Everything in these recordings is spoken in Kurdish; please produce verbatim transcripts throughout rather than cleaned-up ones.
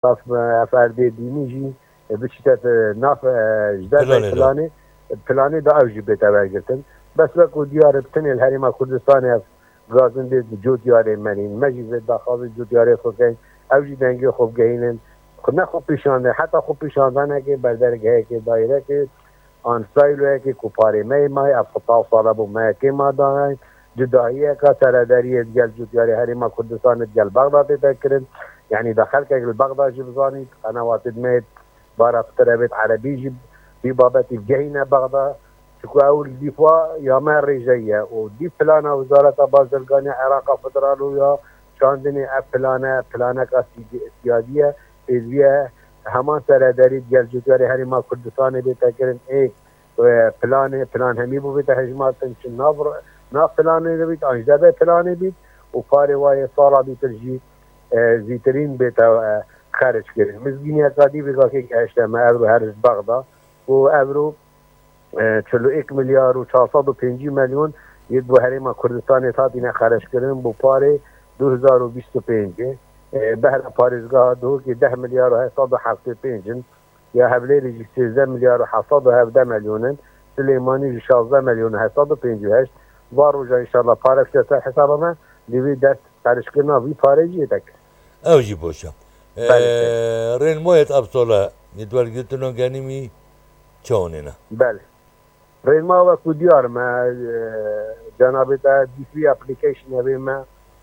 ev, ev erdê dînî jî biçîte nav, e, ji derveyî Planê de. planê, planê de ew jî bête wergirtin. Bes wekû diyar e, bi tenê li Herêma Kurdistanê ev gazin dê cotyarê menîn. Me jî vê daxwazê cotyarê xwe keyin. Ew jî dengê xwe bigehînin. Xwe ne xwe pîşandin, heta xwe pîşandanekê berdergehekê, dairekê an sîloyekê ku parê me yê mayî, ev xwe taw sala bû me yekê ma dayîn. Cudahiyeka seredariyê digel cotyarê Herêma Kurdistanê digel Bexda tête kirin. Yanî da xelkek li Bexda jî bizanît, qenewatê me yê bara pitir evêt erebî jî vî babetî bigehîne Bexda. Çiku ew li dîfa ya me rêje ye û dî plana Wezareta Bazirganiya Iraqa Federal û ya çandinê ev plane, planeka sî-, siyadî ye, pêdiviye heman seredarî digel cotyarê Herêma Kurdistanê bête kirin. Ê, e, planê, plan hemî bû bête hejmartin, çi nav, nav planê de bît, an ji derve planê bît û parê wayê sala dîtir jî, e, zîtirîn bête, e, xeric kirin. Mizgîniyeka dî vêgakê gehişte me, evro her ji Bexda û evro, e, çil û yek milyar û çar sed û pêncî milyon yê bo Herêma Kurdistanê hatine xeric kirin bo parê du hezar û bîst û pêncê. E, behra parêzgeha Duhokê deh milyar û heft sed û heftê pênc in. Ya Hewlêrê jî sêzdeh milyar û heft sed û hevdeh milyon in. Silêmanî jî şazdeh milyon û heft sed û pêncî û heşt. Va roja înşallah pare bişte ser hesaba me, lê vê dest xerickirina vî parê jî yê te kir. Ew jî boş e. Belê, belê. Ee, rênmayêt ev sala yê wergirtina genimî çawanê ne? Belê. Rênma wekû diyar me, e, cenabê te dî free application evê me,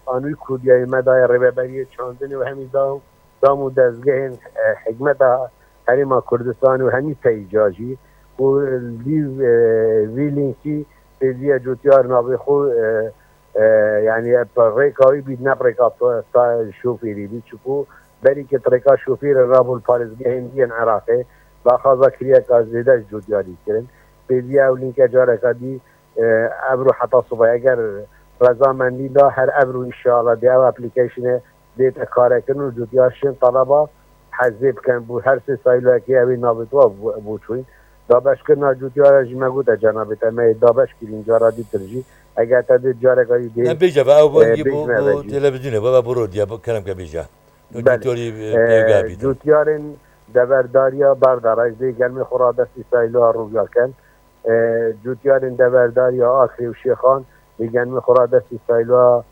an wî kurdiyayê me daye rêveberiyê çandinê û hemî dam, dam û dezgehên, e, hikmeta Herêma Kurdistanê û hemî peyca jî ku dî, e, vî lînkî pêdiviye cotyar navê xwe, e, e, yanî rêka wî bît, ne rêka ta-, ta-, şofêrî bît, çiku berî ke rêka şofêrê rabû li parêzgehên dî yên Iraqê, daxwaza kiriyeka zêde ji cotyarî kirin. Pêdiviye ew lînke careka dî, e, evro heta sibe eger rezamendî da, her evro înşallah dê ev applicationê dête karekirin û cotyar şên taleba hezê bikin. Bo her sê sîloyekê ew ê navê te bû, bû çûyîn. Dabeşkirina cotyara jî me gote cenabê te, me yê dabeş kirîn cara dîtir jî. Eger te dê careka dî dê, Em bêje ve ew e, bengî bêj bo, me bo ve jî. Televîzyonê, bo, bo rodiya, bo kerem ke bêje. Belê. Cotyarî, e, E, pêge bîtin. Cotyarên deverdariya Bexda re dê gelmê xwe radestî sîloya Rûvîya ken. E, cotyarên deverdariya Akrê û Şêxan dê gelmê xwe radestî sîloya,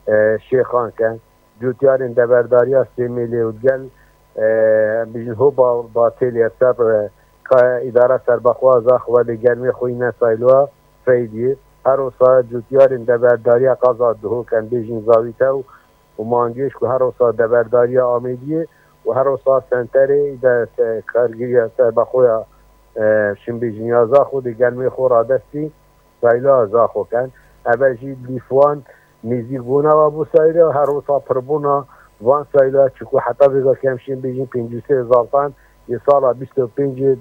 e, Şêxan ken. Cotyarên deverdariya Sêmêlê û digel, e, em bêjin Hoba Batêlê ser, e, ka îdara serbexwaza xwe lê gelmê xwe îne sîloya Feydiyê. Her wisa cotyarên deverdariya qeza Duhok, em bêjin Zavîtew û Mangêş ku her wisa deverdariya Amêdiyê û her wisa senterê de se-, kargiriya serbexwe ya, e, Şimbêjin ya Zaxo dê gelmê xwe radestî sîloya Zaxo ken. Eve jî dîf wan nêzîkbûna ve bû sîloya, her wisa pirbûna van sîloya, çiku heta vêga kem şên bêjin pêncî û sê zartan yê sala bîst û pêncê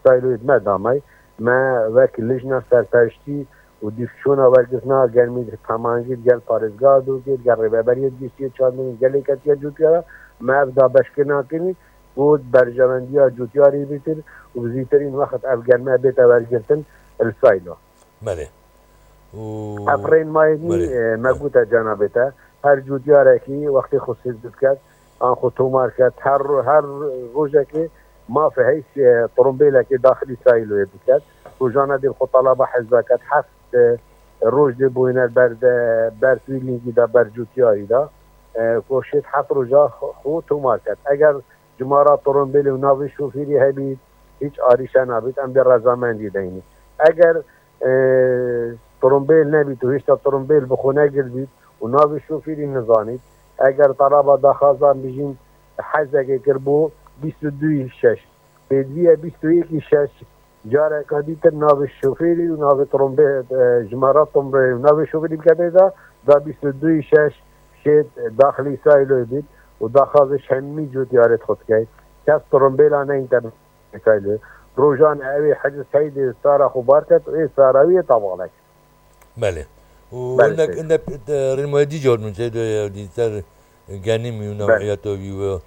sîloyê me damay. Me wek lijna serpereştî û dîfçûna wergirtina germî temangî digel parêzgeha Duhokê, digel rêveberiyê giştiyê çandinê, gelê ketiye cotyara, me ev dabeşkirina kirin ku berjewendiya cotyarê bîtir û bi zîtirîn wext ev germe bête wergirtin li sîlo. Belê. Û Ev rênmayê nî, Belê. e, me gote cenabê te, her cotyarekî wextê xwe sêz biket, an xwe tomar ket, her ro-, her rojekê mafê heyî, e, trombêlekê daxilî sîloyê biket. Rojane dê xwe talaba hezba ket, heft, e, roj dê boyner ber de, ber wî lîngî de, ber cotyarî de, e, ku şêt heft roja xwe, xwe tomar ket. Eger cimara trombêlê û navê şofêrî hebît, hîç arîşe nabît, em dê rezamendî deynin. Eger, e, trombêl nebît û hêşta trombêl bi xwe negirtbît û navê şofêrî nizanît, eger talaba daxwazan bijîn hezekê kir bo bîst û duyî şeş, pêdiviye bîst û yekî şeş, careka dîtir navê şofêrî û navê trombê, e, jimara trombê û navê şofêrî bikete da, da bîst û duyî şeş şêt daxilî sîloyê bît û daxwazê ji hemî cotyarê xwe dikey. Kes trombêla neyîn te sîloyê. Rojan ew ê hecî seydê sara xwe bar ket û ê sara wî yê tevala kir. Belê. Û Belê, hindek, seyr. hindek, e, rênmayê dî cor min seydo ye, dî ser genimî û Belê. newiyeta wî û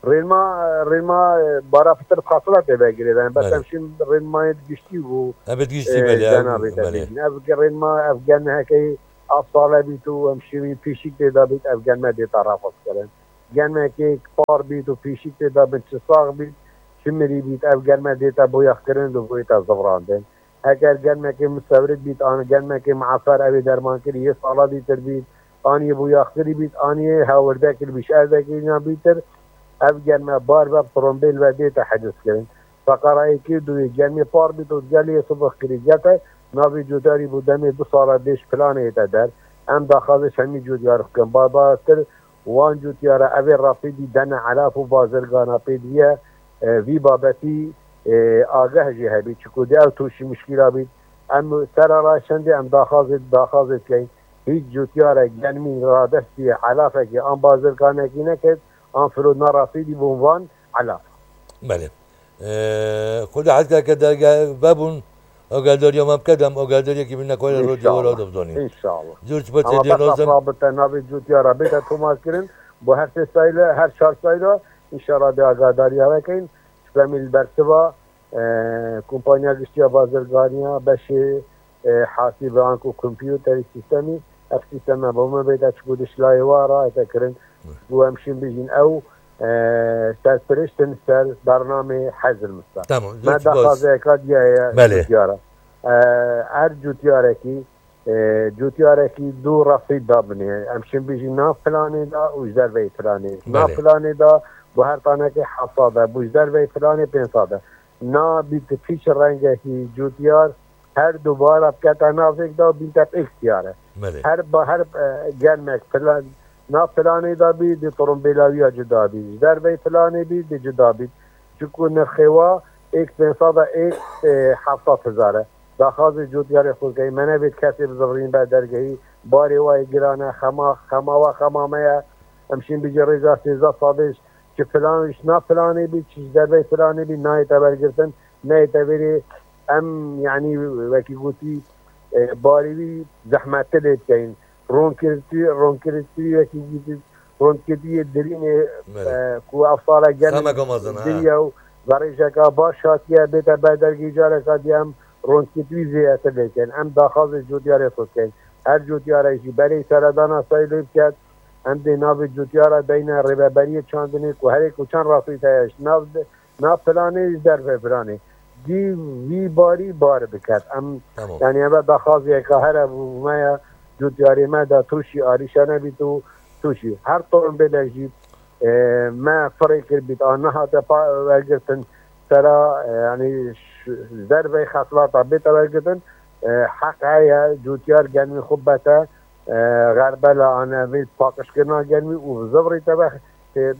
Rênma, rênma, e, bara pitir fasila tê vegirêdayîn. Bes Belê. em şîn rênmayê giştî û, Em bi giştî e, belê, ew, cenabê te belê. bêjin. Ev ge-, rênma, ev gen heke ev sale bît û em şîn wî pîşik tê de bît, ev gen me dê tarafat kirin. Germekê par bît û pîşik tê de bin, çi sax bît, çi mirî bît, ev germe dête boyaxkirin û bûyete zivrandin. Eger germekê misewrik bît, an germekê miafer, ew ê dermankirî yê sala dîtir bît, an yê boyaxkirî bît, an yê hewirde kiribî, ji erdekê yan bîtir, ev germe bar be, trombêl ve dête hicizkirin. Feqara êkê û duyê, germê par bît û gelê sibix kirî gete, navê cûtyarî bû demê du sala dêş planê te der. Em daxazê hemî cûtyar bikin. Barbartir wan cûtyara evê rafîdî dene elaf û bazirgana pêdiviye, e, vî babetî, e, ageh jî hebî. Çiku dê ew tûşî muşkîla bît. Em sera ra şendê em daxazê, daxazê dikeyn. Hîç cûtyarek germî radestî elafekî an bazirganekî neket, an filo na rafîdî bûn van elaf. Belê. Ee, Xwedê hez ke derge vebûn, ageldariya me bike, dem ageldariyekî bîne ku were radyo wera dibzanî. İnşallah. Zor spas. Ama ê bes nazim. Rabite navê cûtiyara bête tomarkirin. Bu her sê sayla, her çar sayla, inşallah de ageldariya vekeyn. Şüphemî li bersiva, e, kompanya giştiya bazirganiya, beşê, e, hasibe anku kompûterî, sîstemî, ev sîsteme bo me bête çiku dişlayê wa raete kirin. Hı. Bu em şîn bijîn ew, e, serpiriştin ser bernamê Hezil Mista. Tamam, me zor spas. Daxwazeyeka diye ye. Belê. Cûtiyara. E, her cûtiyarekî, e, cûtiyarekî du refî da binê. Em şîn bijîn nav planê da û ji derveyî planê. Nav, belê, planê da bu her tanekê heft sed e, bu ji derveyî planê pênc sed e. Na bît pîç rengekî cûtiyar her du bara bikete navêk da û bînte êk tiyare. Belê. Her ba-, her, e, gelmek plan, na planê da bî, di turumbêla wî ya cuda bî. Ji derveyî planê bî, di cuda bî. Çiku nirxê wa êk pênc sed e, êk, e, heft sed hezar e. Daxwazê cûtiyarê xwe key, me nebêt kesê bi zivrîn ber dergehî, barê wa yê giran e, xema, xema wa xema me ye. Em şîn bijî rêza sêzdeh sedê, çi filan, ji na filanê bî, çi ji dervey filanê bî, nayê te wergirtin, nayê te vêrê. Em, yanî, wekî gotî, e, barê wî zehmettir lê dikeyin. Ronkirtî, ronkirtî wekî gotî, ronkirtî yê dirînê, belê, e, ku ev sala gelin, xemeka mezin, ha, diriye û verêjeka baş hatiye, bête ber dergî careka diye em ronkirtî zêdetir lê dikin. Em daxwazê cotiyarê xwe dikin. Her cotiyarek jî berê seredana sayloyê biket. Em dê navê cotiyara deyne rêveberiyê çandinê ku herê ku çend rafît heye ji nav de, na planê ji derve planê. Dî vî barî bar biket. Em, tamam, yanî eve daxwaziyeka here bû me ya, cotiyarê me de tûşî arîşe nebît û tûşî. Her tombêle jî, e, me firê kir bît, an nehate pa-, wergirtin sera, e, yanî ş-, ji dervey xeslata bête wergirtin, e, heq heye cotiyar genmî xwe bete, e, xerbela anevê paqijkirina germî û bi zivrî te be, e,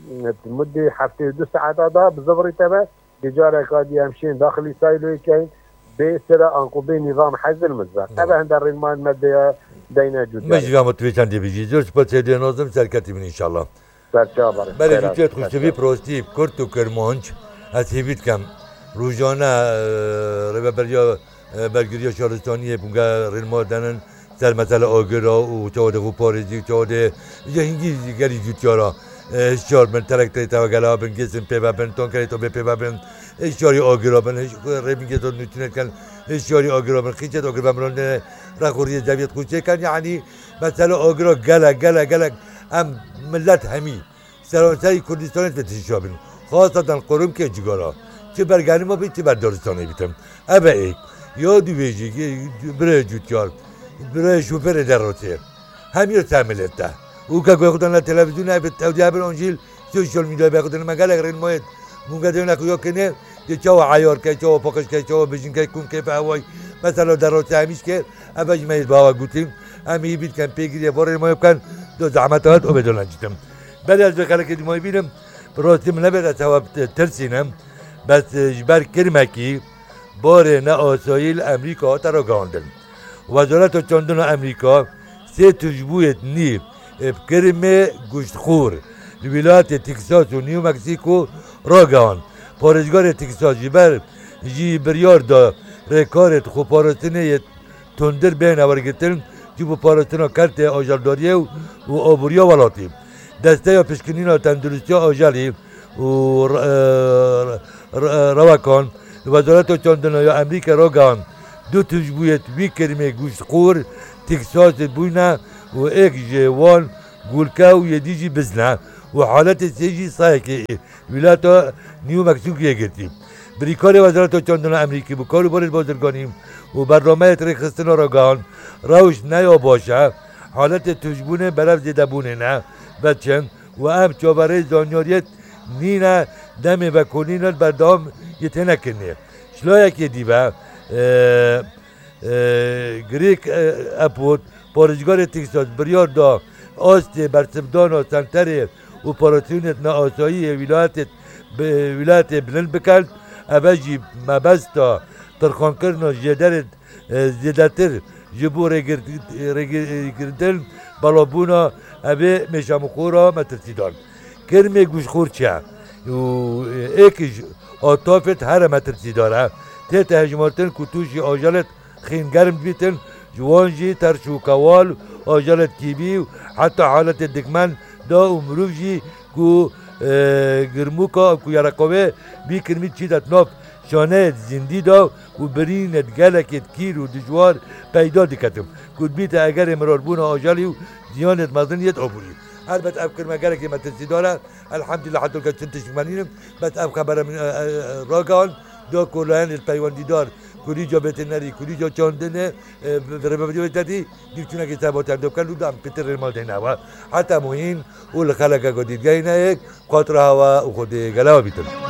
mudê heftê û du saeta da bi zivrî te be, di careka dî em şên daxilî sayloyê keyn, bê sira anku bê nîzam hezil mizve. Doğru. Eve hende rênmayên me de ya deyne cûtiyarê. Me jî ya me tu vê çendê bijî. Zor spas ê dê nazim, serketî bin inşallah. Serçava. Belê, xêr jûtiyet xweştivî, serçava, prostî, kurt û kirmanc, ez hêvî dikem. Rojane, e, rêveberiya, e, bergiriya şaristaniyê bûge rênma denin ser mesela agira û çawa de xwe parêzî û çawa de, îca hingî gelî cûtiyara, e, hişyar bin, traktorê te gela bin, gêsin pê ve bin, tankerê te bê pê ve bin, hişyarî agira bin, hiş-, rê bin gêsa nûçîne dikin, hişyarî agira bin, qîçet agir ve miran de, rexuriyê zeviyet xwe çêkin, yanî mesela agira gelek, gelek, gelek, em millet hemî seranserî Kurdistanê dibê tişa bin. Xaseten qurumkê cigara. Çi ber genima bî, çi ber daristanê bîtin. Eve êk. Ya dûvê jî, birê cûtyar, birê şofêrê derotê. Hem ya ser millet de. Û ke goy xwe dana televîzyonê, ev ew diye bir ancîl sosyal medyayê be xwe dana me gelek rênmayêt. Mûnge dêne xwe ya kine, de çawa eyar ke, çawa paqij ke, çawa bijin ke, kum keyfe heway. Mesela derotê hemîş ke, eve ji me yê bawa gotî. Em ê bît ken pêgirî, bo rênmayê bikin, do zehmet hat û bê dolan citim. Belê ez vê xelekê dî mayî bînim, bi rastî min nebêt ez hewa tirsînim. Bes, e, ji ber kirmekî barê neasayî li Amerîka hate ragihandin. Wezareta Çandina Amerîka sê tûjbûyêt nî, e, bi kirmê goştxor li wîlayetê Texas û New Mexico ragihand. Parêzgarê Texas ji ber jî biryar da rêkarê xweparastinê yê tundir bêne wergirtin, ji bo parastina kertê ajeldariyê û, û aboriya welatî. Desteya Pişkinîna Tenduristiya Ajelî û re-, re-, re-, Rewekan li Wezareta Çandina ya Amerîkayê ragihand, du tûjbûyêt wî kirmê goştxor Texasê bûyne û êk ji wan gulke û yê dî jî bizne. û haletê sê jî sayekê wîlata New Mexicoyê girtî. Birîkarê Wezareta Çandina Amerîkî bi karûbarên bazirganî û bernameyê rêkxistina ragihand, rewş ne ya baş e, haletê tûşbûnê berev zêdebûnê ne, veçin û em çaverê zanyariyê nîne demê vekolîna berdewam yê tênekirinê. Ji layekê dî ve, e, e, Greg, e, Abbott, parêzgarê Texas, biryar da astê bersivdana senterê operasyonê neasayî yê wîlayetê, bi-, wîlayetê bilind bikin. Eve jî mebesta tirxankirina jêderê, e, zêdetir ji bo rêgir-, rêgir-, rêgirtin belavbûna evê mêşamixora metirsîdar. Kirmê guşxor çi ye? Û êk ji atafêt here metirsîdar e. Tête hejmartin ku tûşî ajelêt xîngerm dibîtin, ji wan jî terş û kewal, ajelêt kîvî û heta haletê dikmen da û mirov jî ku, e, girmûka ku yereqovê bî kirmî çîdet nav şaneyê zindî da û birînê gelekê kîr û dijwar peyda diketin, ku dibîte egerê mirarbûna ajelî û ziyanêt mezin yêt aborî. Helbet ev kirme gelekê metirsîdar e. Elhamdülillah, hetolke çin tişt menînim. Bes ev xebere min, e, e, e, ragihan, da ku layenê peywendîdar, ku rîca veterineri, ku rîca çandinê, e, bi, bi rêvebiriyê te dî, dîv çûnekê sebatên dê bikin û da em pitir rê mal deyne ewa. Heta muhîn û li xeleke ku dîtgehîne yek, xatira hewa û xwedê gelewa bîtin.